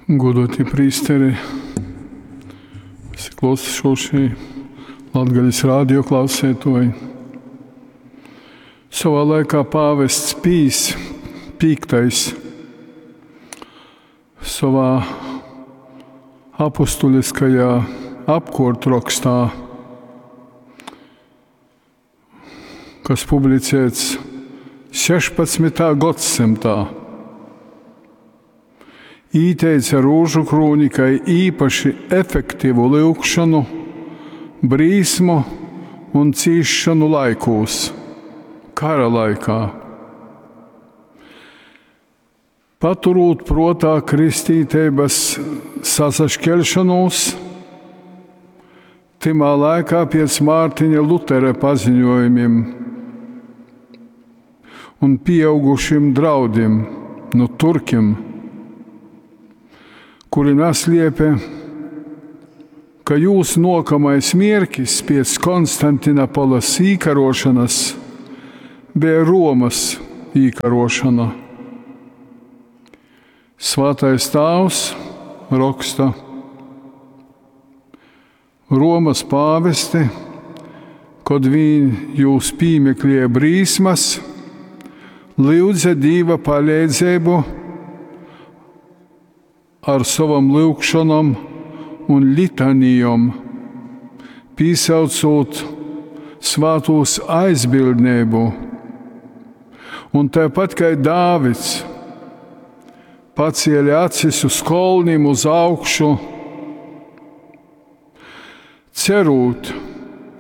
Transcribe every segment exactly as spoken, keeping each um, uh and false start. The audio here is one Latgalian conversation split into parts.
Godoti prīsteri, visi klausošie, Latgales radio klausētoji. Savā laikā pāvests Pijs Piektais savā apustuliskajā apkortrokstā, kas publicēts sešpadsmitā gadsimtā, īteica rūžu krūni kai īpaši efektīvu lyugšanu, brīsmu un cīšanu laikūs, kara laikā. Paturūt protā kristītības sasašķelšanos, tymā laikā pēc Mārtiņa Lutera paziņojumiem un pieaugušiem draudiem no turkiem, kuri nasliepia, ka jūs nokamais mierkis pēc Konstantinopolas īkarošanas bija Romas īkarošana. Svētais Tāvs raksta: Romas pāvesti, kad viņi jūs pīmeklēja brīsmas, lūdza Dīva palīdzību ar savam lūgšanom un litanijom, pīsaucot svātūs aizbildnību. Un tāpat kā Dāvids pacēla acis uz kolnim uz augšu, cerot,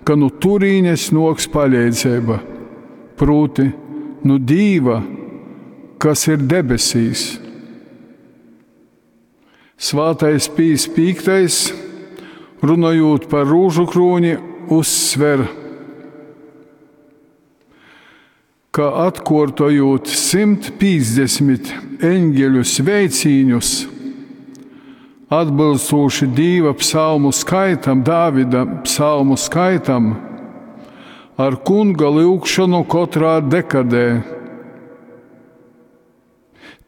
ka no turīnes noks palīdzība, proti no Dīva, kas ir debesīs. Svētais Pijs Piektais, runājot par rūžu krūni, uzsver, ka atkārtojot simt piecdesmit eņģeļu sveicīņus, atbilstoši Dīva psalmu skaitam, Dāvida psalmu skaitam, ar kunga lyugšanu katrā dekadē,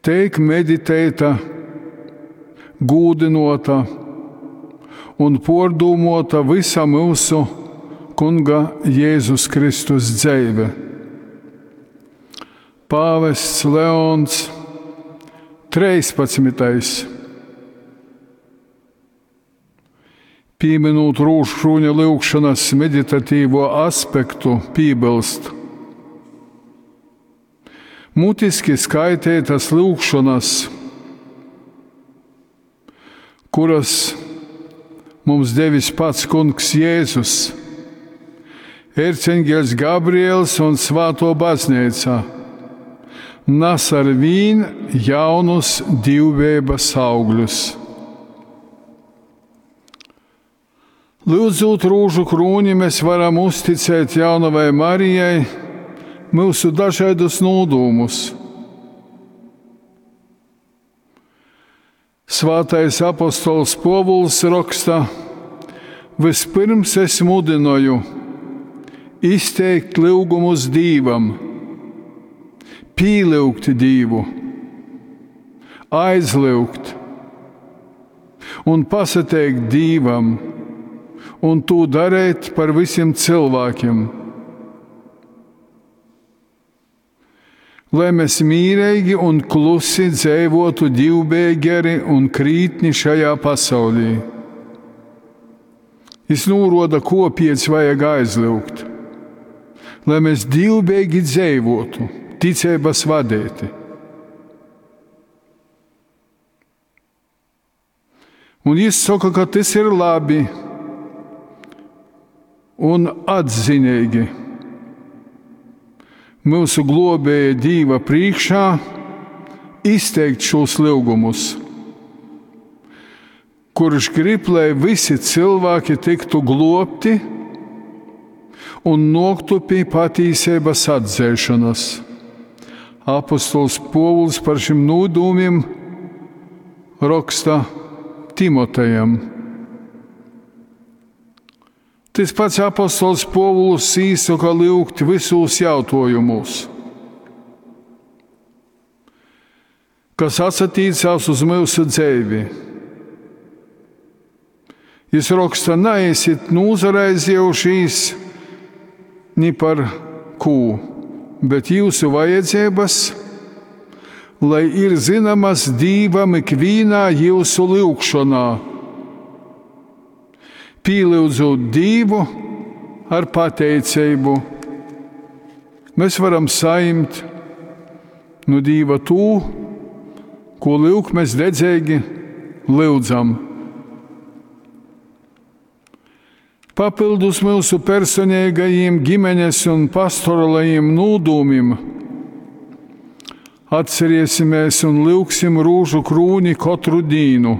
teik meditēta, gūdinota un pordūmota visa mūsu kunga Jēzus Kristus dzeive. Pāvests Leons trīspadsmitais, pieminot rūžkrūņa lyugšanas meditatīvo aspektu, piebilst: mutiski skaitētas lyugšanas, kuras mums devis pats kungs Jēzus, erceņģeļs Gabriels un Svāto baznīca, nes ar vīn jaunus divbības augļus. Lūdzot rūžu krūni, mēs varam uzticēt jaunavai Marijai mūsu dažādus nodūmus. Svētais apostols Povuls raksta: vispirms es mudināju izteikt lūgumus Dīvam, pīlyugt Dīvu, aizlyugt un pasateikt Dīvam, un to darīt par visiem cilvēkiem. Lai mēs mīrīgi un klusi dzīvotu divbēgeri un krītni šajā pasaulī. Es nūroda, ko piec vajag aizlyugt. Lai mēs divbēgi dzīvotu, ticības vadēti. Un jis saka, ka tas ir labi un atzinīgi. Mūsu globēja Dīva priekšā izteikt šos lūgumus, kurš grib, lai visi cilvēki tiktu globti un noktu pie patīsības atzēšanas. Apostols Povuls par šim nodūmiem raksta Timotejam. Tas pats apostols Povuls īsaka lyugt visos jautājumos, kas atsatīcās uz mūsu dzīvi. Jis roksta, naesit nūsaraizējušīs ni par kū, bet jūsu vajadzības, lai ir zināmas Dīvam ikvīnā jūsu lyugšonā. Pīlyudzūt Dīvu ar pateicību, mēs varam saņemt no Dīva tū, ko lyuk mēs dedzīgi lyudzam. Papildus mūsu personīgajiem ģimenes un pastorālajiem nūdūmim atcerēsimies un lyugsim rūžu krūni katru dīnu.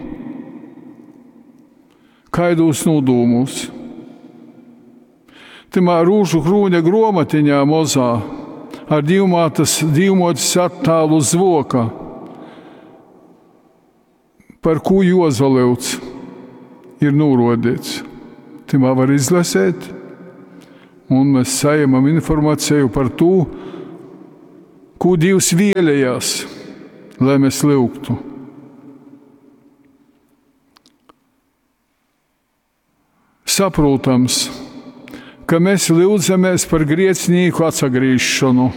Kaidos nūdūmus? Timā rūžu krūņa gromatiņā mozā ar divmātas, divmotes attālu zvoka, par ko jozalyudz, ir nūrodīts. Timā var izlasēt, un mēs saņemam informāciju par to, ko Dievs vēlējās, lai mēs lyugtu. Saprotams, ka mēs lyudzamies par grēcinieku atsagrīšanu.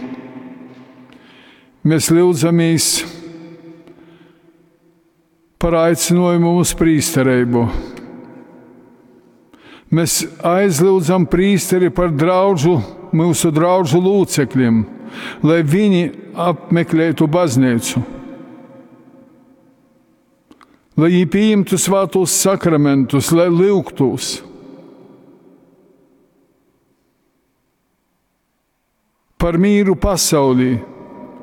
Mēs lyudzamies par aicinājumu uz prīsterību. Mēs aizlūdzam prīsteri par draudžu, mūsu draudžu locekļiem, lai viņi apmeklētu baznīcu, lai viņi pieņemtu svētos sakramentus, lai lyugtos. Par mīru pasaulī,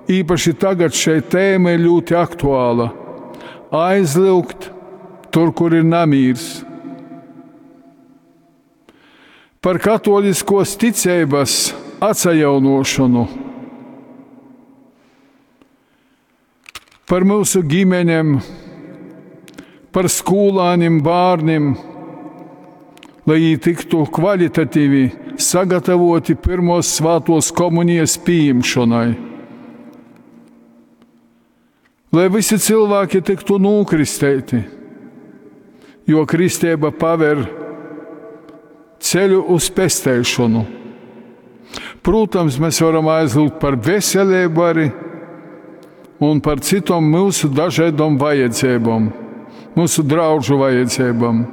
īpaši tagad šeit tēma ir ļoti aktuāla. Aizlūgt tur, kur ir namīrs. Par katoliskos ticības atsajaunošanu, par mūsu ģimenēm, par skolāniem, bērniem, lai viņi tiktu kvalitatīvi sagatavoti pirmos svētos komunijas pieņemšanai. Lai visi cilvēki tiktu nokristēti, jo kristība paver ceļu uz pestēšanu. Protams, mēs varam aizlūgt par veselību arī un par citām mūsu dažādām vajadzībām, mūsu draudžu vajadzībām.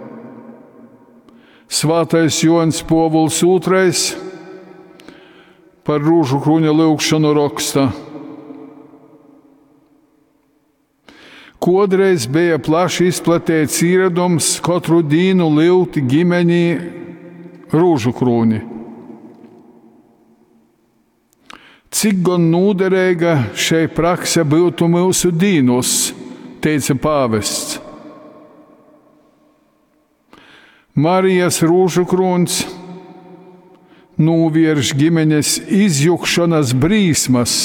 Svētais Joņs Povuls otrais par rūžu krūņa lūgšanu raksta. Kodreiz bija plaši izplatīts ieradums katru dienu lyugt ģimenī rūžu krūni. Cik gan noderīga šai prakse būtu mūsu dīnos, teica pāvests. Marijas rūžu krūns novērš ģimenes izjukšanas brīsmas.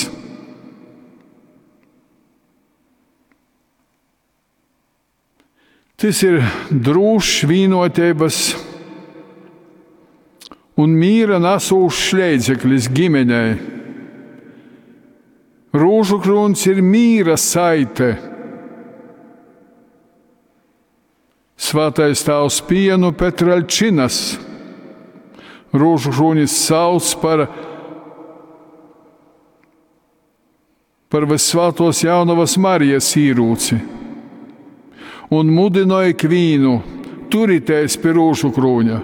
Tas ir drūšs vienotības un mīra nesūšs līdzeklis ģimenei. Rūžu krūns ir mīra saite. Svētais tēvs Pienu Petralčinas rūžu krūnis sauc par, par Visvētos Jaunavas Marijas īrūci un mudināja ikvienu turīties pie rūžu krūņa.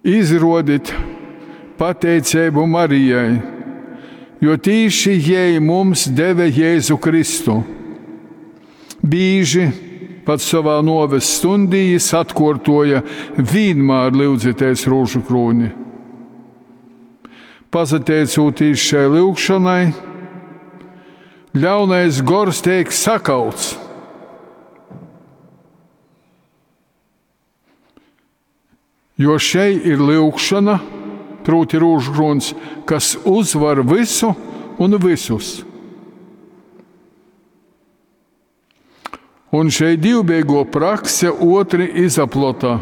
Izrodit pateicību Marijai, jo tīši jai mums deva Jēzu Kristu. Bīži pat savā noves stundī jis atkārtoja vienmēr lyudzieties rūžu krūni. Pasateicoties šai lūgšanai, ļaunais gors tiek sakauts. Jo šeit ir lūgšana, proti rūžu krūns, kas uzvar visu un visus. Un šeit divbēgo prakse otri izaplota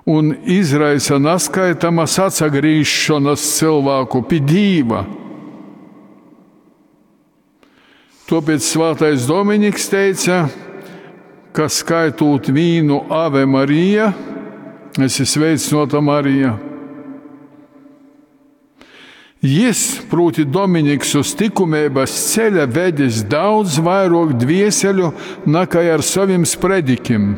un izraisa naskaitamas atsagrīšanas cilvēku pie Dīva. Tāpēc svētais Dominiks teica ka skaitūt vīnu Ave Marija, esi sveicināta Marija. Jis, proti Dominiks, uz tikumības ceļa vedis daudz vairāk dvieseļu nekā ar saviem spredikim.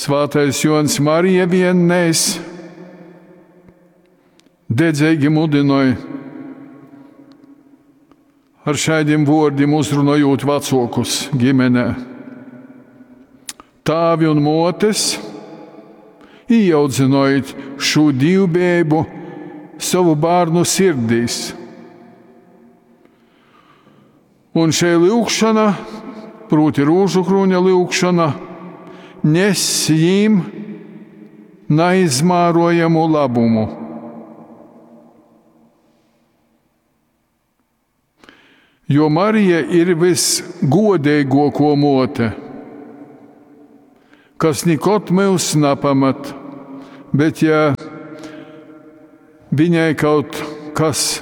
Svātais Jons Marija viennēs dedzīgi mudināja ar šādiem vārdiem uzrunājot vecākus ģimenē. Tāvi un motes, ieaudzinojiet šo divbēbu savu bērnu sirdīs. Un šī lūgšana, proti rūžu krūņa lūgšana, nes jīm neizmērojamu labumu. Jo Marija ir visgodīgāko mote, kas nekad mūs nepamat, bet ja viņai kaut kas,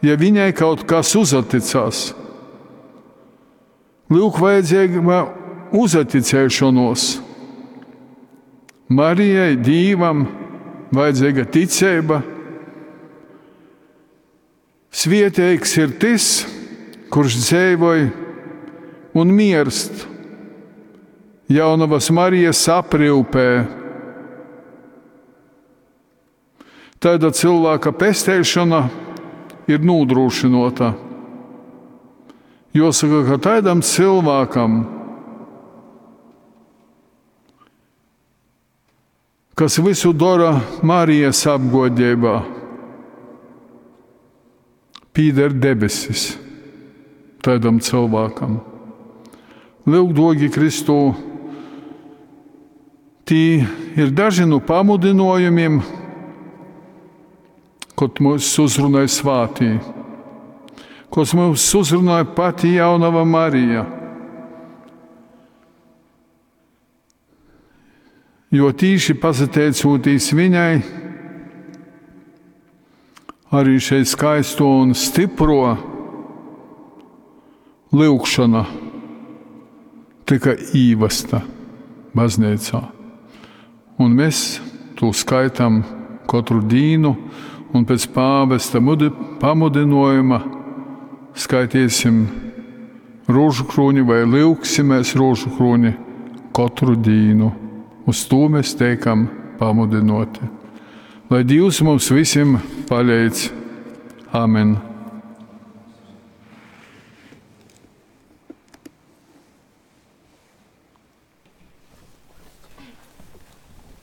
ja viņai kaut kas uzaticās, lūk vajadzīga uzaticēšanos. Marijai, Dīvam vajadzīga ticība. Svieteigs ir tas, kurš dzīvoja un mirst Jaunavas Marijas aprūpē. Tāda cilvēka pestēšana ir nodrošinota. Jāsaka, ka tādam cilvēkam, kas visu dara Marijas apgodībā, pīder debesis tādam cilvēkam. Lūk, dogi Kristū, tī ir daži no pamudinojumiem, kad mūs uzrunāja svātī, kas mūs uzrunāja pati jaunava Marija. Jo tīši pasateicoties viņai, arī šeit skaisto un stipro lūgšana tika īvesta baznīcā. Un mēs to skaitam katru dienu, un pēc pāvesta pamudinojuma skaitīsim rožu krūni vai lūgsimies rožu krūni katru dienu. Uz to mēs teikam pamudinoti. Lai Dievs mums visiem palīdz. Amen.